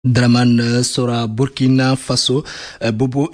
Draman Sora, Burkina Faso, Bobo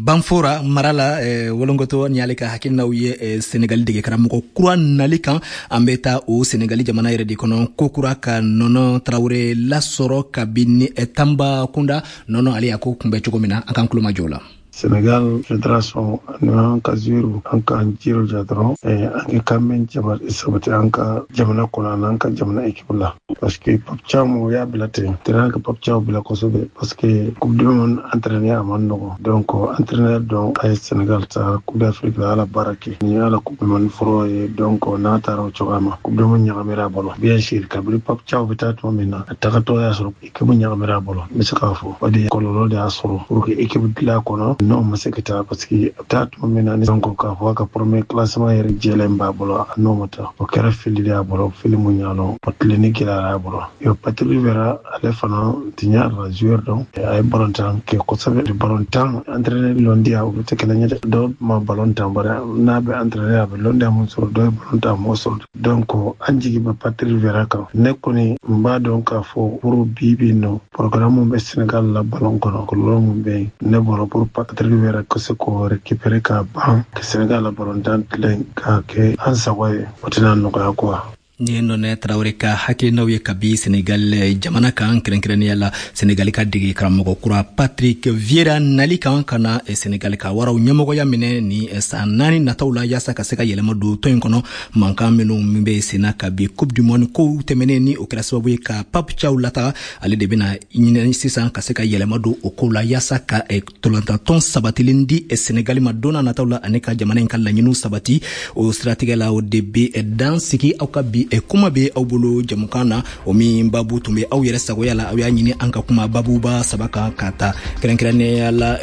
Banfora mara la, Wolongoto ni ale ka hakilinaw ye Senegali dege karamɔgɔ kura nali kan. An bɛ taa o Senegali jamana yɛrɛ de kɔnɔ kokura ka Nɔnɔ Tarawele lasɔrɔ kabini Tanbakunda. Nɔnɔ, ale y'a ko kunbɛ cogo min na, an k'an tulomajɔ la. Sénégal fédération ani an ka joueurs, an k'an jija dɔrɔn an ka kan sabati an ka jamana kɔnɔ ani an ka jamana équipe la, parce que Pape Thiaw o y'a bila ten terrain ka Pape Thiaw bila kosɛbɛ, parce que Coupe du monde entraîneur a man nɔgɔn. Donc entraîneur dɔn a ye Sénégal ta Coupe d'Afrique la, ala baara kɛ nin y'a la Coupe du monde fɔlɔ ye. Donc n'a taara o cogoya ma, Coupe du monde ɲagamira a bolo. Bien sûr, kabini Pape Thiaw bɛ taa tuma min na, a tagatɔ y'a sɔrɔ équipe ɲagamira a bolo. N bɛ se k'a fɔ o de ye kɔlɔlɔ de y'a sɔrɔ pour que équipe dilan kɔnɔ n'o ma se ka taa, parce que a bɛ taa tuma min na ni donc k'a fɔ a ka premier classement yɛrɛ jɛlen b'a bolo, a n'o ma taa, o kɛra fili de y'a bolo, fili mun y'a lɔn o tilenni gɛlɛyara a bolo. Yo, Patrick Vieira, ale fana tiɲɛ la joueur dɔn, a ye balontan kɛ kosɛbɛ. Balontan entraîneur lɔndiya, olu tɛ kelen ye dɛ. Dɔw ma balontan, bari n'a bɛ entraîneur a bɛ lɔndiya mun sɔrɔ, dɔw ye balontan m'o sɔrɔ. Donc an jigi bɛ Patrick Vieira kan. Ne kɔni n b'a dɔn k'a fɔ pour bi bi nɔ programme mun bɛ Sénégal la ballon kɔnɔ, kɔlɔlɔ mun bɛ yen, ne bɔra pour Patrick Vieira ka se k'o récupérer k'a ban ka Sénégal la balontan tilen k'a kɛ an sago ye, o tɛna nɔgɔya quoi. Ni ye Nɔnɛ Tarawele ka hakilinaw ye kabi Senegal jamana kan, kɛrɛnkɛrɛnnenya la Senegali ka dege karamɔgɔ kura Patrick Vieira nali kan ka na Senegali ka waraw ɲɛmɔgɔya minɛ ni san 4 nataw la, yaasa ka se ka yɛlɛma don tɔn in kɔnɔ. Mankan minnu min bɛ senna kabi Coupe du monde kow tɛmɛnen, ni o kɛra sababu ye ka Pape Thiaw lataga, ale de bɛna ɲinɛ sisan ka se ka yɛlɛma don o kow la, yaasa ka tolantantɔn sabatilen di Senegali ma don n'a nataw la, ani ka jamana in ka laɲiniw sabati. O siratigɛ la, o de bɛ dan sigi aw ka bi kuma bɛ aw bolo jamukan na, o min babu tun bɛ aw yɛrɛ sagoya la. Aw y'a ɲini an ka kuma babuba saba kan, ka ta kɛrɛnkɛrɛnnenya la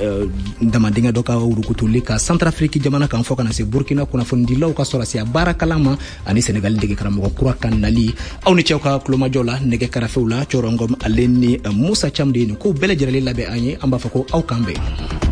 damadingɛ dɔ ka wurukutuli ka Centrafrique jamana kan, fɔ ka na se Burkina kunnafonidilaw ka sɔrɔsiya baarakalan ma, ani Senegali dege karamɔgɔ kura ka nali. Aw ni cɛw ka kulomajɔ la nɛgɛ karafew la, Cɔrɔngɔm ale ni Musa Cam de ye nin kow bɛɛ lajɛlen labɛn an ye. An b'a fɔ ko aw k'an bɛn.